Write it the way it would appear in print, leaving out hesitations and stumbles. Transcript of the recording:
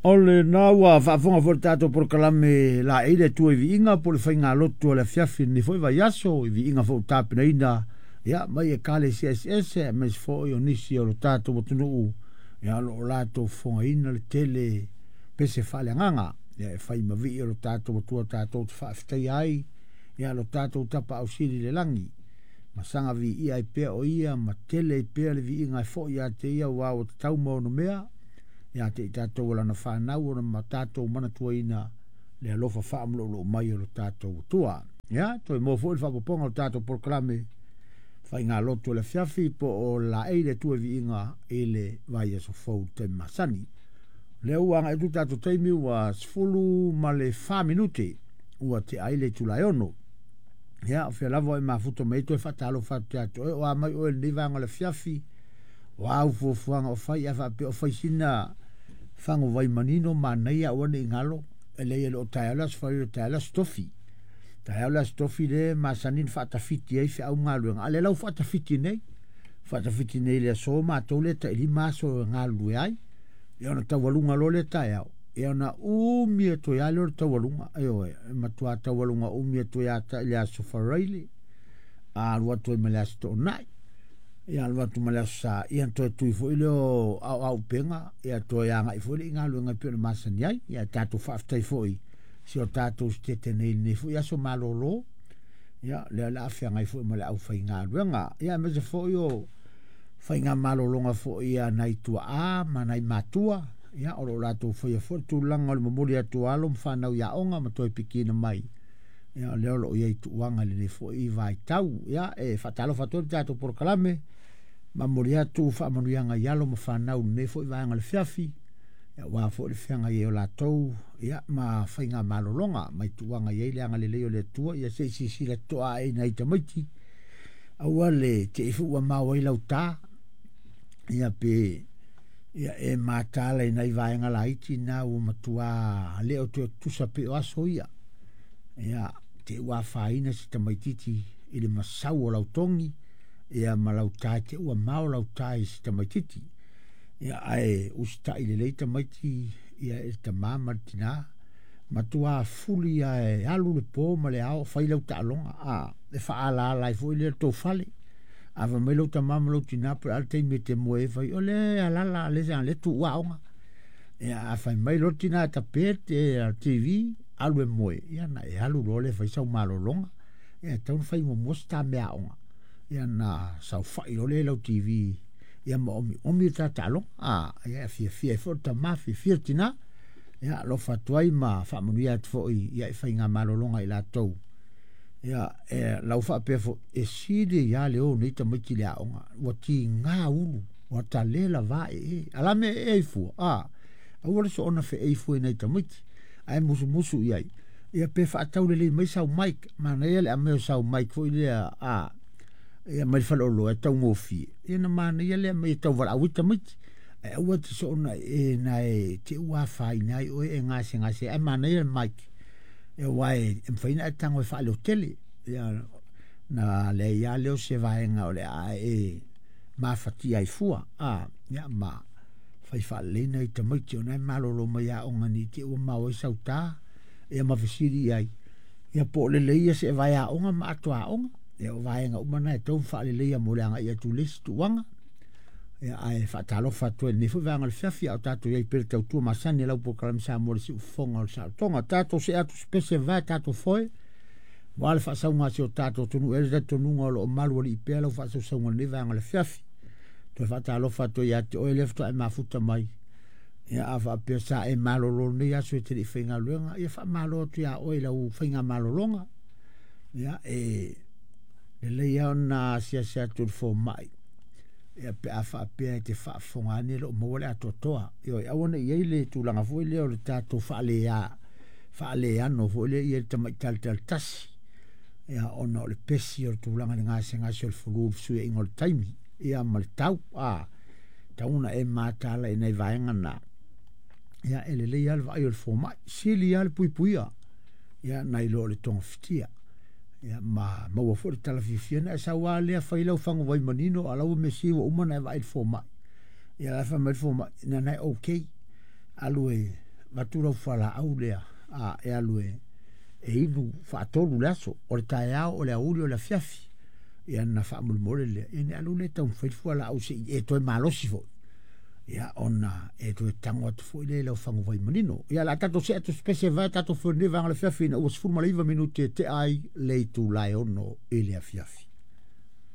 O lena ua faafofoga foi le tatou polokalame laei le Atua i viiga po o le faigalotu o le afiafi i lenei foi vaiaso i viiga foi ua tapenaina ia mai ekalesia eseese aemaise foi o nisi o le tatou atunuu ia o lo o latou fofogaina le tele pese faaleagaga ia e fai ma vii o le tatou Atua tatou te faafetaia ai ia lo tatou Tapaau Sili i le lagi ma saga viia ai pea o ia ma tele ai pea le viiga e foi ia te ia aua ua tatau ma onomea ia te i tatou o lana fanau ona ma tatou manatuaina le alofa faamulou mai o lo tatou Atua. Ia, toe maua foi le faaopoopoga o le tatou polokalame faigalotu o le afiafi po o laei le Atua i viiga i le vaiaso fou i le taimi masani. O lea ua agai atu le tatou taimi ua 14 minute ua tea ai le itula e 6. Ia, o fea lava o e mafuta mai ai toe faatalofa atu ia te oe, o a mai oe i lenei vaega o le afiafi, o a au fuafuaga o fai, a faapea o fai sina faguvai manino manaia aua ne i galo, e leai e le o taeao le Aso Faraile, o taeao le Aso Tofi. Taeao le Aso Tofi le masani ona faatafiti ai feau ma galuega, a o lea la ua faatafiti nei, faatafiti nei i le aso matou lea tai 5 aso e galulue ai, ia ona taualuga loa lea taeao, ia ona umi atu ai lava lea o le taualuga, ioe, e matua taualuga umi atu ai lava i le Aso Faraile, a alu atu ai ma le Aso Toonai, ia alu atu ma le Aso Sa, ia ona toe tui foi lea o aoaupega, ia toe agai foi lea i galuega e pei ona masani ai. Ia tatou faafetai foi si o tatou sitete nei i lenei foi aso malolo, ia lea o le a feagai foi ma le aufaigaluega. Ia aemaise foi o faigamalologa foi a nai tuaa ma nai matua, ia o lo o latou faia foi le tulaga o le momoli atu o alo ma fanau i aoga ma toe pikiina mai. Ia o lea o lo o i ai tuuaga i lenei foi vaitau. Ia e faatalofa atu ai le tatou polokalame, momoli atu faamanuiaga i alo ma fanau i lenei foi vaega o le afiafi, ia aua foi le feagai ai o latou ia ma faigamalologa mai tuuaga i ai le agalelei o le Atua. Ia se i silasila totoa ae i nai tamaiti, aua le te i foi ua mao ai lau ta, ia pe ia e matala i nai vaega laiti na ua matua le o toe tutusa pei o aso ia. Ia, te ua afaina se tamaititi i le masau o lau togi, ia ma lau ta, te ua mao lau ta i se tamaititi. Ia, ae usitai lelei tamaiti ia e le tamā ma le tinā, matua fuli ae alu le po ma le ao fai lau taaloga, a, e faaalaala ai foi lea le tou fale. A fai mai lau tamā ma lau tinā po o le a le taimi e te moe ai, fai, o le alala le sa le tuua aoga. Ia, a fai mai loa le tinā e tape te TV, alu e moe, ia na e alu loa lea e fai sau malologa. Ia, e tatau ona fai muamua se ta meaaoga, ia na saofai loa lea i lau TV, ia ma omiomi le ta taaloga. A, ia, e fiafia ai foi le tamā, fiafia le tinā. Ia, alofa atu ai ma faamanuia atu foi ia i faigamalologa i latou. Ia, e lau faapea foi, e sili ai lava le o nei tamaiti i le aoga, ua tiga ulu, ua tale lava ee, a la mea e ee ai fua, a, aua le soona feei fua i nai tamaiti, ae musumusu i ai, ia pe faatau lelei mai sau mic, manaia le aumai o sau mic foi lea, a, ia mai le faleoloa e taugofie, ia na manaia le aumai e tauvalaau ai tamaiti, ae aua te soona ee na e te ua afaina ai oe e gasegase, ae manaia le mic, ia aua e mafai ona e tago e faaleotele, ia na leai lava lea o se vaega o le a e mafatia ai fua, a, ia ma fai faalelei nai tamaiti ona e malolo mai aoga nei te i ua mao ai sau ta, ia ma fesili i ai, ia po o lelei ia seevae aoga ma ato aoga, ia o vaega uma na e tatau ona faaleleia mo le agai atu i le isi tuuaga. Ia, ae faatalofa atu ai i lenei foi vaega o le afiafi, a o tatou i ai pea i le tautua masani a lau polokalame Samoa i le siufofoga o le saolotoga. Tatou see atu se pese vae tatou foe, aua le faasauga a si o tatou atunuu. E i ai le talitonuga o lo o malualii pea lau faasausauga i lenei vaega o le afiafi. Toe faatalofa atu ai ia te oe lea faatoa e mafuta mai. Ia, a faapea sa e malolo lenei aso e te le i faigaluega, ia faamalo atu ia oe i lau faigamalologa. Ia, e lelei lava ona asiasi atu i le fomai, ia pe a faapea e te faafofoga ane e le o maua le atoatoa. Ioe, aua ne i i ai le tulaga foi lea o le tatou faaleano foi lea i le tamaitai tasi, ia ona o le pesi o le tulaga i le gasegase o le flu, le fesuiaiga o le taimi, ia ma le tau, a, tatau ona e mataala i nai vaega na. Ia, e lelei lava le vaai o le fomai, sili lava le puipuia, ia nai lo o le togafitia. Ia, ma maua foi le tala fiafia na e sau lava lea fai lau faguvai manino, a la ua mesi ua uma ona e vaai i le fomai. Ia la e fai mai le fomai, na na e okay, alu e avatu lau fualaau lea a e alu e e inu faatolu le aso, o le taeao, o le aoauli, o le afiafi. Ia na faamolemole lea, ia ona e alu lea e taumafai le fualaau se i e toe malosi foi. Ia ona e toe tago atu foi lea i lau faguvai manino. Ia o le a tatou see atu i se pese e vae tatou foi i lenei vaega o le afiafi ina ua 19 minute e tea ai le itula e 6 i le afiafi.